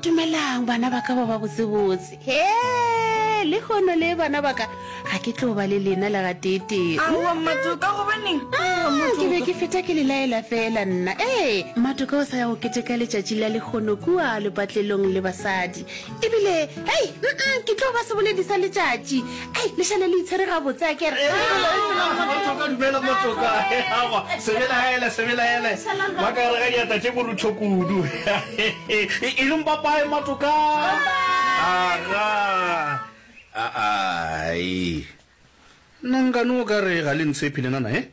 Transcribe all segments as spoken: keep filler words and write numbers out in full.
Dumelang bana ba ka ba ba botsebotse. He, lehono le bana ba ka ga ke tlo ba le lena le gateetee. Aowa Mmatoka, gobaneng? Mm, ke be ke feta ke le laela fela nna. Ee, Mmatoka o sa ya go keteka letšatši la lehono kua lepatlelong le basadi. Ebile, hei, mm, ke tlo ba seboledi sa letšatši. Ai, le šale le itshwere gabotse a kere. Mmatoka, dumela Mmatoka. Aowa, se belaele, se belaele. Ba ka gare ga diatla tše borutho kudu. E leng papae Mmatoka. Aga. Ai. Nna nkane o ka re ga le ntshepe lena na, he?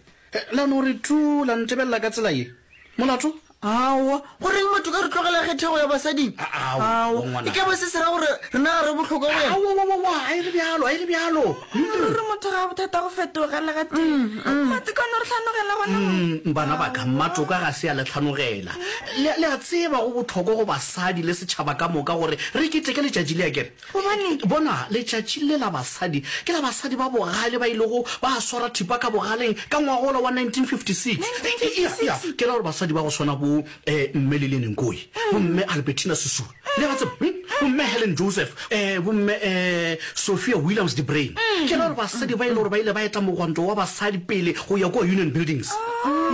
La no re tu la ntebelela ka tsela ye. Molato? Aowa, goreng Matoka re tlogela kgethego ya basading? Aowa, e ka ba se se ra gore rena ga re bohlokwa go yena? Aowa, a e re bjalo, a e re bjalo. Ruri motho ga a bothata go fetoga le gatee. Matoka o no re hlanogela gona mo. Bana ba ka, Matoka ga se a le hlanogela. Le, le a tseba go bohlokwa go basadi le setšhaba ka moka gore re keteke letšatši le, akere? Gobaneng? Bona, letšatši le la basadi ke la basadi ba bogale ba ilego ba swara thipa ka bogaleng ka ngwagola wa nineteen fifty six. nineteen fifty six? Ya, ke ra gore basadi ba go swana bo eh, Mme Lilian Ngoyi, bo Mme Albertina Sisulu, le ba tseba, hm? Bo Mme Helen Joseph, eh, bo Mme eh, Sophia Williams de Bruyn. Ke ra gore basadi ba e le gore ba ile ba eta mogwanto wa basadi pele go ya kua Union Buildings.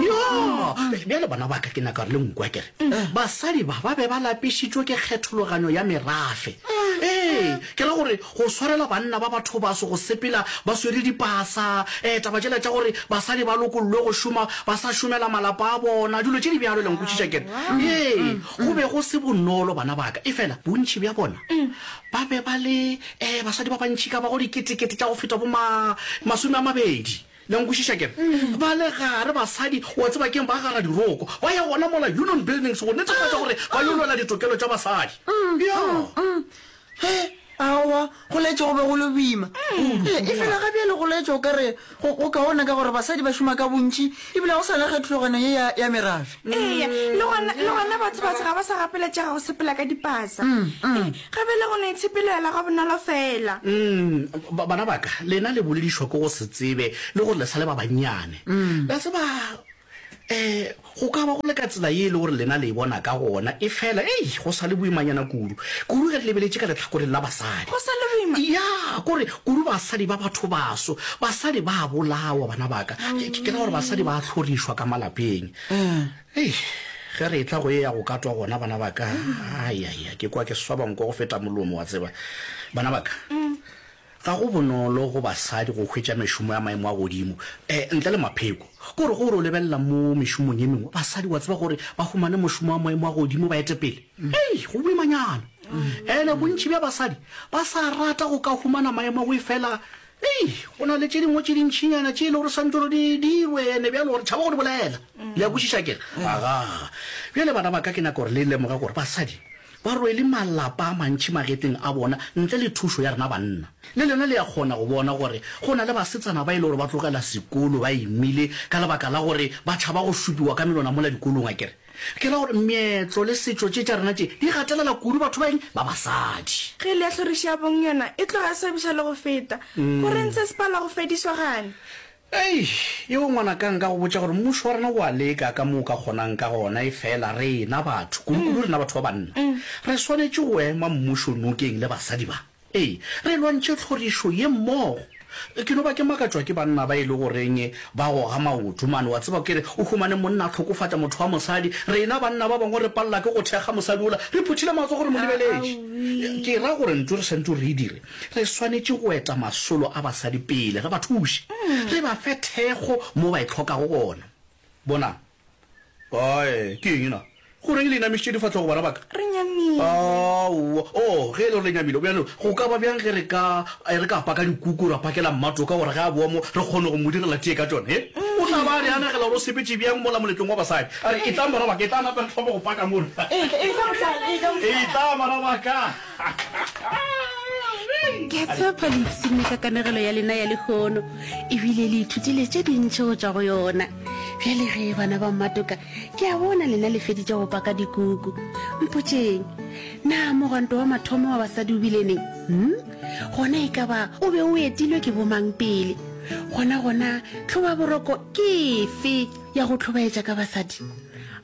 Ya, bjale bana ba ka ke nyaka gore le nkwe akere. Basadi ba ba be ba lapišitšwe ke kgethologanyo ya merafe. Ee, ke ra gore go swarela banna ba bathobaso go sepela ba swere dipasa, ee, taba tšela tša gore basadi ba lokollwe go šoma ba sa šomela malapa a bona, dilo tše di bjalo, le a nkwešiša ke re? Ee, go be go se bonolo bana ba ka, efela bontši bja bona ba be ba le, ee, basadi ba bantši ka bago diketekete tša go feta bo ma, masome a mabedi. Le a nkwešiša ke re? Ba le gare basadi, wa tseba ke'ng, ba gara diroko, ba ya gona mola Union Buildings go netefatša gore ba yo lwela ditokelo tša basadi. Ya. He, aowa, go laetša go be go le boima. E, efela ga bjale go laetša o ka re go, go kaone ka gore basadi ba šoma ka bontši ebile ga go sa na kgethologano ye ya, ya merafe. Eya, le gona, le gona batho batho ga ba sa gapeletšega go sepela ka dipasa. Ee, Ga bjale go no itshepelela ga bonolo feela. Mm, ba, bana ba ka, lena le boledišwa ke go se tsebe le gore le sa le ba bannyane. Le a tseba, um go ka ba go le ka tsela ye e le gore lena le e bona ka gona, efela, ei, go sa le boimanyana kudu. Kudu ge re lebeletše ka lehlakoreng la basadi. Go sa le boima? Ya, kore kudu basadi ba bathobaso. Basadi ba a bolawa, bana ba ka. Ke, ke, ke ra gore basadi ba a hlorišwa ka malapeng. Hei, ge re etla go ye ya go katwa gona, bana ba ka, ai-ai-ai, ke kwa ke swaba nko go feta molomo, wa tseba. Bana ba ka, ga go bonolo go basadi go hwetša mešomo ya maemo a godimo, eh, ntle le mapheko. Ke gore ge o re o lebelela mo mešomong ye mengwe, basadi, wa tseba gore ba humane mošomo wa maemo a godimo ba ete pele. Hei, go boimanyana. Ene bontši bja basadi ba sa rata go ka humana maemo ao efela Hei, go na le tše dingwe tše dintšinyana tše e le gore swantše gore di dirwe, ene bjalo re tšhaba go di bolela. Le a kwešiša ke re? Aga. Bjale bana ba ka, ke nyaka gore le lemoge gore basadi ba rwele malapa a mantši magetleng a bona ntle le thušo ya rena banna. Le lena le a kgona go bona gore go na le basetsana ba e le gore ba tlogela sekolo ba imile ka lebaka la gore ba tšhaba go šupiwa ka menwana mola dikolong, akere? Ke ra gore meetlo le setšo tše tša rena tše di gatelela kudu batho ba eng? Ba basadi. Ge e le ya tlhorišo ya bong yona e tloga e swabiša le go feta. Go reng se se palwa go fedišwa gane? Ei, yeo ngwanaka nka go botša gore mmušo wa rena o a leka ka mo o ka kgonang ka gona efela rena batho, kudukudu rena batho ba banna, re swanetše go ema mmušo nokeng le basadi ba. Ee, re lwantšhe tlhorišo ye mmogo. Ke no ba ke makatšwa ke banna ba e le goreng ba goga maoto mane. Wa tseba, ke re o humane monna a hlokofatša motho wa mosadi, rena banna ba bangwe re palela ke go thekga mosadi wola, re phuthile matsogo re mo lebeletše. Ke ra gore ntho re swanetše gore re e dire, re swanetše go eta masolo a basadi pele, re ba thuše, re ba fe thekgo mo ba e hlokago gona. Bonang. Ae, ke eng na? Go reng le inamišitše difahlogo, bana ba ka? Re nyamile. Aowa. Oh, ge e le gore le nyamile, bjalo go ka ba bjang ge re ka, re ka paka dikuku ra pakela Mmatoka gore ge a boa mo re kgone go mo direla tee ka tšona, he? O tla ba a re anegela gore o sepetše bjang mola moletlong wa basadi. A re, Etlang, bana ba ka, etlang nape re thome go paka mola. Etla, etla, mohlala, etla, mohlala. Etlang, bana ba ka. Ke a tshepa le ipshinne ka kanegelo ya lena ya lehono ebile le ithutile tše dintši go tšwa go yona. Bjale ge, bana ba Mmatoka, ke a bona lena le feditše go paka dikuku. Mpotšeng, na mogwanto wa mathomo wa basadi o bile neng? Hm? Gona e ka ba o be o etilwe ke bomang pele? Gona gona tlhobaboroko ke efe ya go hlobaetša ka basadi?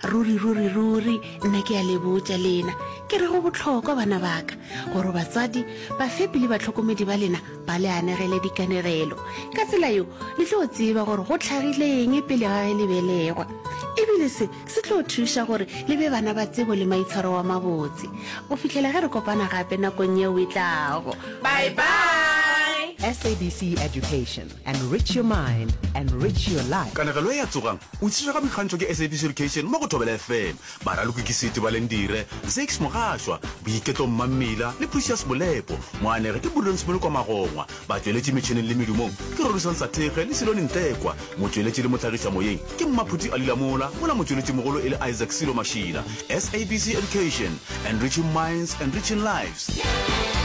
Ruri, ruri, ruri, nna ke a le botša lena, ke re go bohlokwa, bana ba ka, gore batswadi, bafepi le bahlokomedi ba lena ba le anegele dikanegelo. Ka tsela yeo le tlo tseba gore go hlagile eng pele ga ge le belegwa. E bile se se tlo thuša gore le be bana ba tsebo le maitshwaro a mabotse. Go fihlela ge re kopana gape nakong yeo e tlago. Bye bye! S A B C Education. Enrich your mind, enrich your life. Kanegelo ye ya Tsogang! O tlišwa ka boikgantšho ke S A B C Education mo go Thobela F M. Baraloki ke Seti Balendire, Zakes Mogašwa, Boiketlo Mmammila le Precious Molepo. Moanegi ke Prudence Molokwa Magongwa. Batšweletši metšheneng le medumong ke Rorisang Sathekge le Silone Ntlekwa. Motšweletši le mohlagišamoyeng ke Mmaphuti Ali Lamola, mola motšweletšimogolo e le Isaac Silo Mašila. S A B C Education, enriching minds, enriching lives.